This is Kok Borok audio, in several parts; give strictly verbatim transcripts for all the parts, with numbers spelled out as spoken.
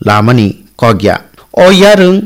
lamani kok ya. O yarwng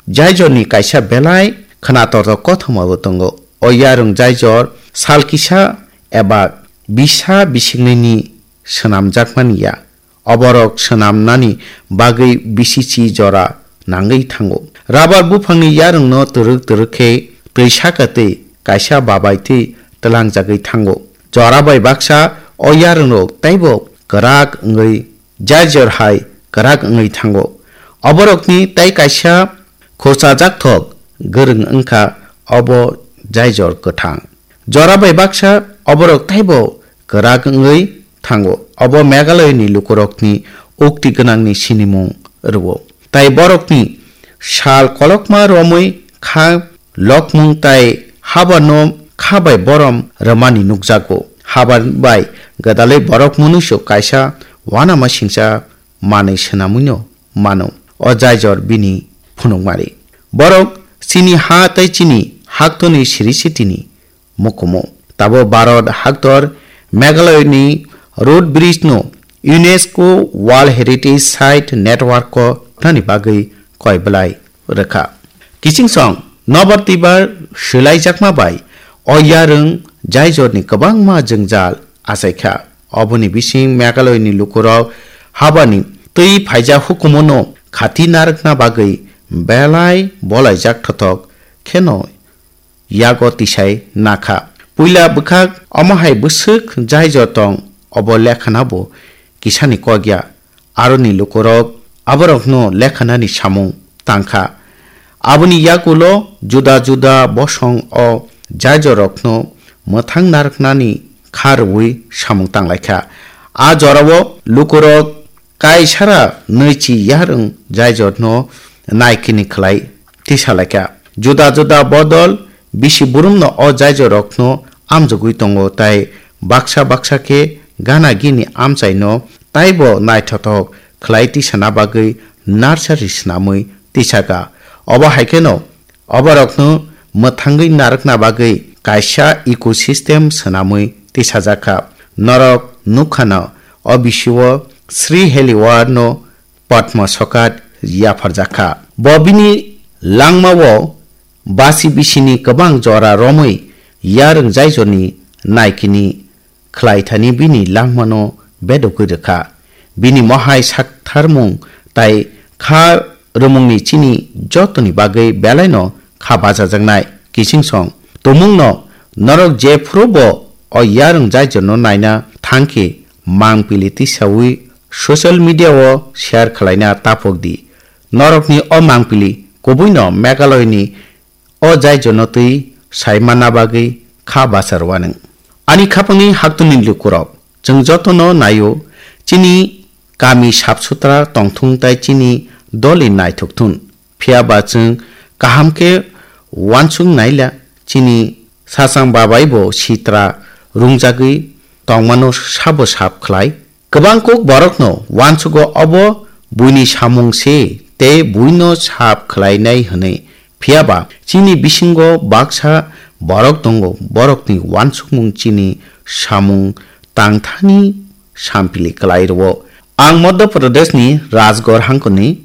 jaijorni kaisa belai khwnatortok kothoma bo tongo. O yarwng jaijor sal kisa eba bisa bisingnini swnamjakmani ya. Oborok swnamnani bagwi bisichi jora nangwi thango. Rabar buphangni yarwngno twrwk twrwk khe twi saka twi kaisa babai twi twlangjagwi thango. Jora bai baksa o yarwngrok teibo kwrak wngwi jaijor hai kwrak wngwi thango. Oborokni tei kaisa khurchajak thok gwrwng wngkha obo jaijor kwthang. Jora bai baksa oborok teibo kwrak wngwi thango. Obo Meghalayani lukurokni ukti gwnangni sinimung rwo. Tai borokni sal kolokma romwi kha lokmung tai habarno kha bai borom rwmani nukjago. Habar bai gwdalwi borok munuisu kaisa uanama singcha manwi swnamwino mano. O jaijor bini phunukmari. Borok chini ha tei chini haktoni siri sitini mukumu. Tabo Bharat haktor Meghalayani Root Bridge no UNESCO World Heritage Site Network o nani bagwi koi belai rwkha. Kiching song nobar twibar swlaijakma bai o yarwng jaijorni kwbangma jwngjal achaikha. Oboni bising Meghalayani lukurok habani twi phaijak hukumono khati narwkna bagwi belai bolaijak thothok kheno yago tisai nakha. Puila bwkhak omo hai bwswk jaijor tong obo lekhana bo kisani kok ya. Aroni lukurok aborokno lekhanani samung tangkha. Aboni yagulo juda juda bosong o jaijorokno mwthang narwknani kha rwui samung tanglaikha. A jorao lukurok kaisara nwichi yarwng jaijorno naikini khlai tisalaikha. Juda juda bodol bisi burumno o jaijorokno amjogwi tongo tai baksa baksa khe gana gini amchaino taibo naithothok khlai tisana bagwi nursery swnamwi tisaka. Obo hai kheno oborokno mwthangwi narwkna bagwi kaisa ecosystem swnamwi tisajakha. Norok nukkhano o bisio Sri Heliwar no Padma Sokat yapharjakha. Bo bini langmao basi bisini kwbang jora romwi yarwng jaijorni naikini khlaithani bini langmano bedogwi rwkha. Bini mohai saktharmung tai kha rwmungni chini jotoni bagwi belaino kha bachajaknai. Kiching song tumungno norok jephuru bo o yarwng jaijorno naina thangkhe mangpili tisawi social media o share khlaina taphok di. Norokni o mangpili kubuino Meghalayani o jaijono twi sai manna bagwi kha bachar wanwng. Ani khapangni haktwni lukurok, chwng jotono naio, chini kami sap sutra tongthung tai chini doli naithok thun. Phiya ba chwng kaham khe uansuk naila, chini sachang babai bo sitra rungjagwi tongmano sabo sap khlai. Kwbang kuk borokno uansugo obo buini samung se tei buino sap khlainai hwnwi. Phiya ba chini bisingo baksa borok tongo, borokni uansukmung chini samung tangthani sampili klai rwo. Ang Madhya Pradeshni Rajgarh hangkoni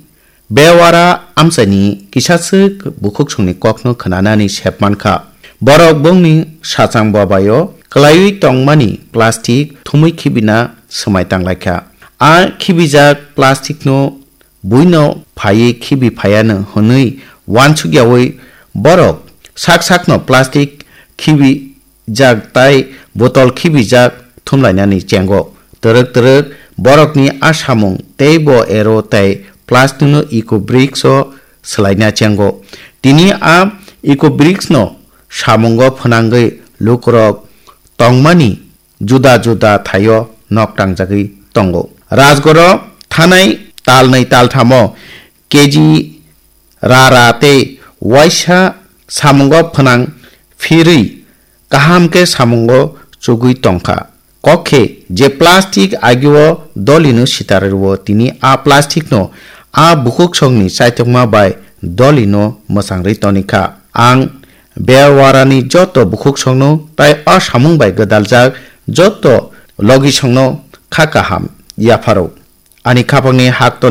Bewara amchaini kisaswk bukhuksongni kokno khwnanani sep mankha. Borok bongni sachang babaio kwlaiwi tongmani plastic thumwi khibina swmai tanglaikha. A khibijak plasticno buino phaiwi khibi phaiano hwnwi uansukyaui borok sak sakno plastic khibi jak tai botol khibijak thumlainani chengo. Twrwk twrwk borokni a samung teibo ero tei plasticno eco bricks o swlaina chengo. Tini a eco bricks no samungo phwnangwi lukurok tongmani juda juda thaio nok tangjagwi tongo. Rajgoro thanai talnwi talthamo K G rara tei uaisa samungo phwnang phirwi kaham khe samungo chugwi tongkha. Kok khe je plastic agio dolino sitar rwo, tini a plasticno a bukhuksongni chaitokma bai dolino mwchangri tonikha. Ang Bewarani joto bukhuksongno tai a samung bai gwdaljak joto logisongno kha kaham yapharo. Ani khapangni haktorni